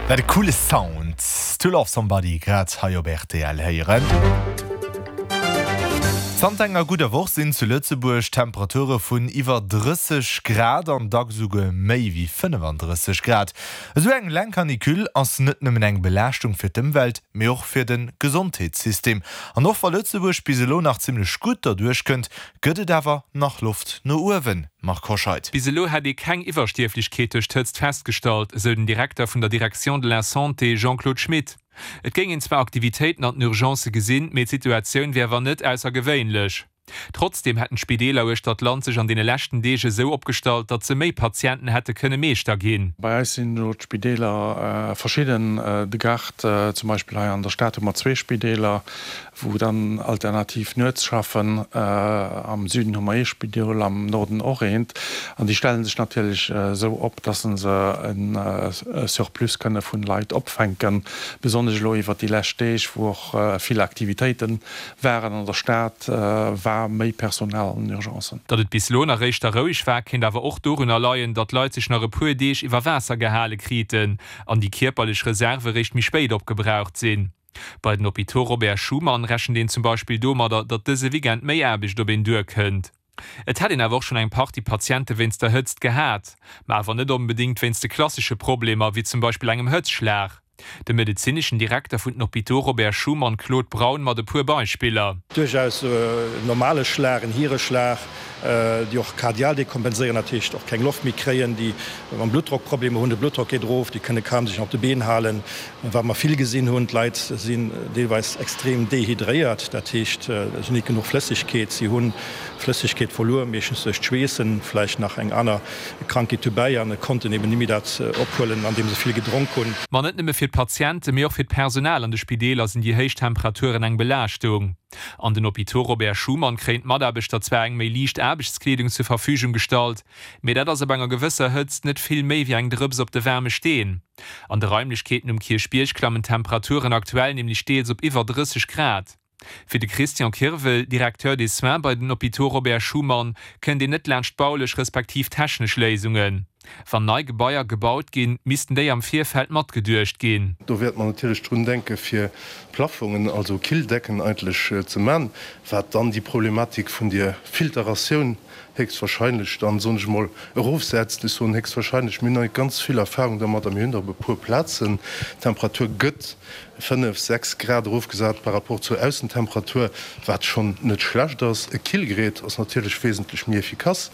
Wat e coole Sound! To Love Somebody grad hei op rtl héieren. Zanter enger gudder Woch sinn zu Lëtzebuerg Temperature vun iwwer 30 Grad an dacks esouguer méi wéi 35 Grad. Esou eng laang Canicule ass net nëmmen eng Belaaschtung fir d'Ëmwelt, mee och fir de Gesondheetssystem. An och wa Lëtzebuerg bis elo nach zimmlech gutt derduerch kënnt, gëtt et awer nach Loft no uewen, Marc Hoscheid. Bis elo hätt ee keng Iwwerstierflechkeet duerch d'Hëtzt festgestallt, esou den Direkter vun der Direction de la Santé Jean-Claude Schmit. Et géing een zwar Aktivitéiten an den Urgencë gesinn, mee d'Situatioun wier awer net aussergewéinlech. Trotzdeem hätten d'Spideeler uechter d'Land sech an deene leschten Deeg esou opgestallt, datt se méi Patienten hätte kënne Meeschter ginn. Bei eis sinn elo d'Spideeler verschidden. De Gard zum Beispill hei an der Stad hu mer zwee Spideeler, wou dann alternativ nuets schaffen. Am Süden hu mer ee Spidol, am Norden och eent. An déi stelle sech natierlech esou op, datt se e Surplus kënne vun Leit opfänken, besonnesch elo iwwert déi lescht Deeg, wou och vill Aktivitéite waren an der Stad, war méi Personal an den Urgencen. Datt et bis elo nach éischter roueg war, kéint awer och dorunner leien, datt d'Leit sech nach e puer Deeg iwwer Waasser gehale kriten an déi kierperlech Reserve réischt méi spéit opgebraucht sinn. Bei den Hôpitaux Robert Schuman rechent een zum Beispill domadder, datt dëse Weekend méi Aarbecht op een duerkënnt. Et hätt een awer och schonn eng Partie Patiente wéinst der Hëtzt gehat, ma awer net onbedéngt wéinst de klassesche Problemer, wéi zum Beispill engem Hëtzschlag. De medezineschen Direkter vun den Hôpitaux Robert Schuman Claude Braun mat e puer Beispiller. Duerchaus en normale Schlag, en Hiereschlag, déi och kardial dekompenséieren, dat heescht och keng Loft méi kréien, déi mam Bluttdrock Problemer hunn, de Bluttdrock geet erof, déi kënne kaum sech nach op de Been halen. Wat mer vill gesinn hunn, d'Leit sinn deelweis extrem dehydréiert, dat heescht, si hunn net genuch Flëssegkeet, si hu Flëssegkeet verluer, meeschtens duerch d'Schweessen, vläicht nach eng aner Krankheet dobäi, an konnten eben net méi dat ophuelen, andeem se vill gedronk hunn. Ma net nëmme fir d'Patienten, mee och fir d'Personal an de Spideeler sinn déi héich Temperaturen eng Belaaschtung. An den Hôpitaux Robert Schuman kréien d'Mataarbechter zwar eng méi liicht Aarbechtskleedung zur Verfügung gestallt, mee dat ass op enger gewësser Hëtzt net vill méi wéi eng Drëps op de waarme Steen. An de Raimlechkeeten um Kierchbierg klammen d'Temperaturen aktuell nämlech deels op iwwer 30 Grad. Fir de Christian Kirwel, Directeur des soins bei den Hôpitaux Robert Schuman, kënnt een net laanscht baulech respektiv technesch Léisungen. Wann nei Gebaier gebaut ginn, missten déi am Virfeld matgeduecht ginn. Do wäerte mer natierlech drun denke fir Plaffongen, also Killdecken eigentlech ze man, wat dann déi Problematik vun der Filteratioun héchstwahrscheinlech dann, soen ech emol, erofsetzt. Ech soen héchstwahrscheinlech, mir hunn nach net ganz vill Erfahrung dermat a mir hunn der op e puer Plazen. D'Temperatur gëtt 5, 6 Grad erofgesat par rapport zur Aussentemperatur, wat schonn net schlecht ass. E Killgerät ass natierlech wesentlech méi efficace.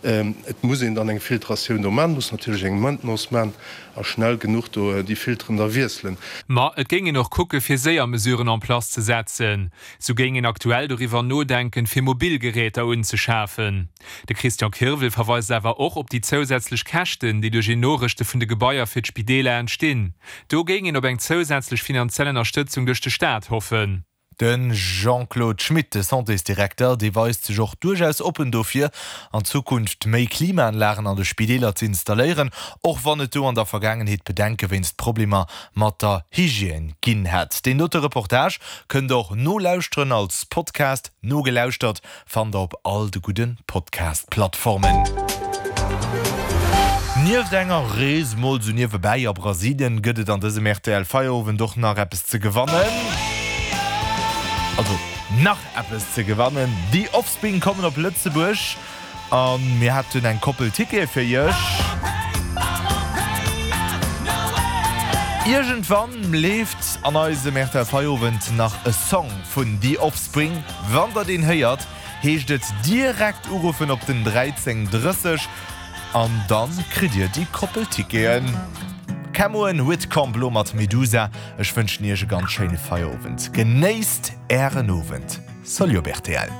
Et muss een dann eng Filtratioun do man, muss natierlech eng Maintenance man a schnell genuch do déi Filteren da wiesselen. Ma et géing een och kucke fir séier Mesuren en place ze setzen. Sou géing een aktuell doriwwer nodenken, fir mobil Geräter unzeschafen. De Christian Kirwel verweist awer och op déi zousätzlech Käschten, déi duerch een Norëschte vun de Gebaier fir d'Spideeler entstinn. Do géing een op eng zousätzlech finanziell Ënnerstëtzung duerch de Staat hoffen. De Jean-Claude Schmit, de Santésdirekter, dee weist sech och duerchaus oppen dofir, an Zukunft méi Klimaanlagen an de Spideeler ze installéieren, och wann et do an der Vergaangenheet Bedenke wéinst Problemer mat der Hygiène ginn hätt. Deen dote Reportage kënnt der och nolauschteren als Podcast. Nogelauschtert fannt der op all de gudde Podcast-Plattformen. Nieft enger Rees mol sou niewebäi a Brasilien gëtt et an dësem rtl Feierowend och nach eppes ze gewannen. Also nach eppes ze gewannen. The Offspring kommen op Lëtzebuerg. A mir hätten eng Koppel Tickete fir iech. Iergendwann leeft an eisem rtl Feierowend nach e Song vun The Offspring. Wann der deen héiert, heescht et direkt uruffen op den 13 30 an dann kritt dir déi Koppel Ticketen. Camoen Whitcomb lo mat Medusa. Ech wënschen iech e ganz schéine Feierowend. Genéisst ären Owend. Salut op rtl.